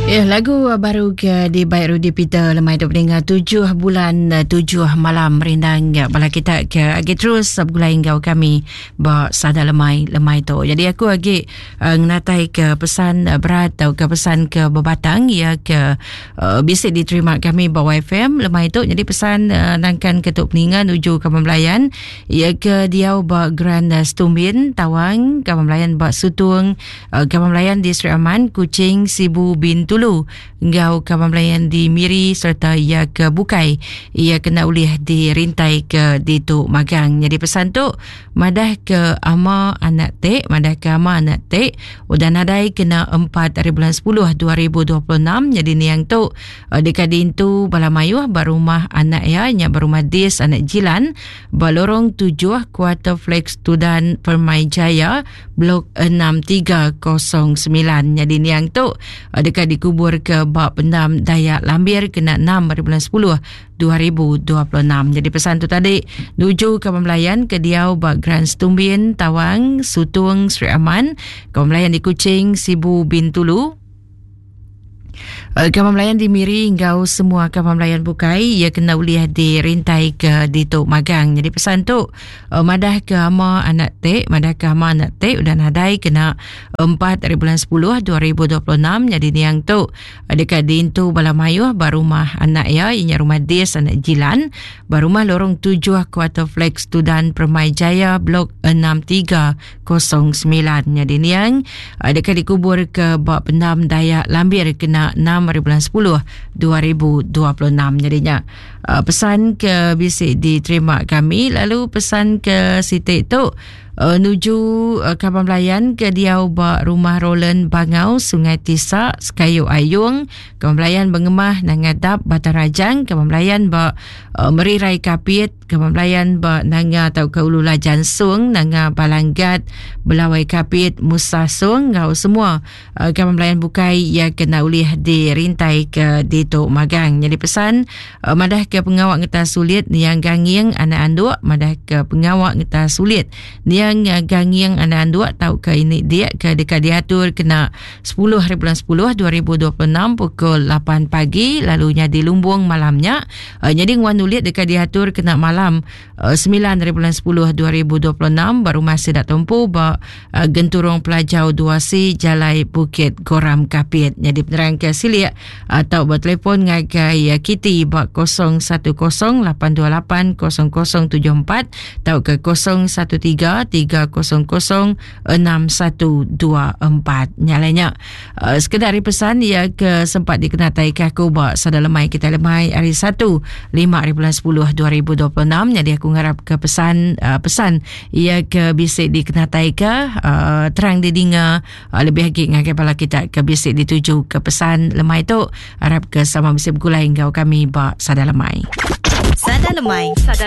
Ya, lagu baru ke di baik Rudy Peter lemai tu peninga tujuh bulan eh, tujuh malam merindang ya, bala kita ke agi terus begulai enggau kami ba sada lemai lemai tu. Jadi aku agi uh, ngenatai ke pesan eh, berat atau ke pesan ke bebatang ya ke uh, bisi diterima kami ba YFM lemai tu. Jadi pesan uh, nangkan ke tu peninga nuju ke pembelayan ya ke diau ba Grand Stumbin Tawang, kawan belayan ba Sutung Kaban Belayan di Sri Aman, Kuching, Sibu, Bintulu enggau kaban belayan di Miri sereta iya ke bukai iya kena ulih dirintai ke ditu magang. Nyadi pesan tu madah ke ama anak tek, madah ke ama anak tek udah nadai kena 4 hari bulan 10 2026 nyadi niang tu eh, deka diintu bala mayuh ba rumah anak iya nya ba rumah Dis anak Jilan ba lorong 7 Kuarter Flex Tudan Permai Jaya Blok 6309. Nyadi niang tu eh, deka dikubur ke ba pendam Dayak Lambir kena 6 hari bulan 10 2026. Jadi pesan tu tadi nuju ke pembelayan ke diau ba Grand Stumbin, Tawang, Sutung, Sri Aman, ke pembelayan di Kuching, Sibu, Bintulu, Eh, Kaban Melayan di Miri enggau semua kaban Melayan bukai ia kena ulih dirintai ke ditu magang. Jadi pesan tu eh, madah ke ama anak tek, madah ke ama anak tek udah nadai kena 4 hari bulan 10 2026 jadi niang tu eh, dekat diintu bala mayuh ba rumah anak ia inya rumah Dis anak Jilan ba rumah lorong 7 Quarter Flex Tudan Permai Jaya Blok 63 09 nyadi niang eh, deka dikubur ke ba pendam Dayak Lambir kena 6 hari bulan 10 2026 jadi nya eh, pesan ke bisi diterima kami lalu pesan ke siti tu uh, nuju uh, kaban belayan ke diau ba rumah Roland Bangau Sungai Tisa Sekayu Ayung kaban belayan Bengemah Nangadap Batang Rajang kaban belayan ba uh, Merirai Kapit Kaban belayan ba Nanga tauka Ulu Lajan Sung, Nanga Balanggat, Belawai Kapit, Musa Sung enggau semua uh, kaban belayan bukai iya kena ulih dirintai ke ditu magang. Nyadi pesan uh, madah ke pengawa ngetas sulit niang ganging anak anduk, madah ke pengawa ngetas sulit niang uh, ganging anak anduk tauka ini dia ke deka diatur kena 10 hari bulan 10 2026 pukul 8 pagi lalu nyadi lumbung malam nya Uh, nyadi nguan ulit deka diatur kena malam uh, 9 hari bulan 10 2026 ba rumah sida tumpu ba uh, Genturung Pelajau 2C Jalai Bukit Goram Kapit. Nyadi penerang ke silik atau uh, bertelefon ngagai uh, Kitty ba 010 828 0074 tau ke 013 300 6124. Nyalanya Uh, sekedar hari pesan ia ke sempat dikenatai ke aku ba sada lemai kita lemai hari 1 5 hari bulan 10 2026 jadi aku ngarap ke pesan uh, pesan ia ke bisa dikenatai ke uh, terang didinga uh, lebih lagi ngagai bala kita ke bisa dituju ke pesan lemai tu harap ke sama bisa bergulai enggau kami ba sada lemai. Sada lemai. Sada.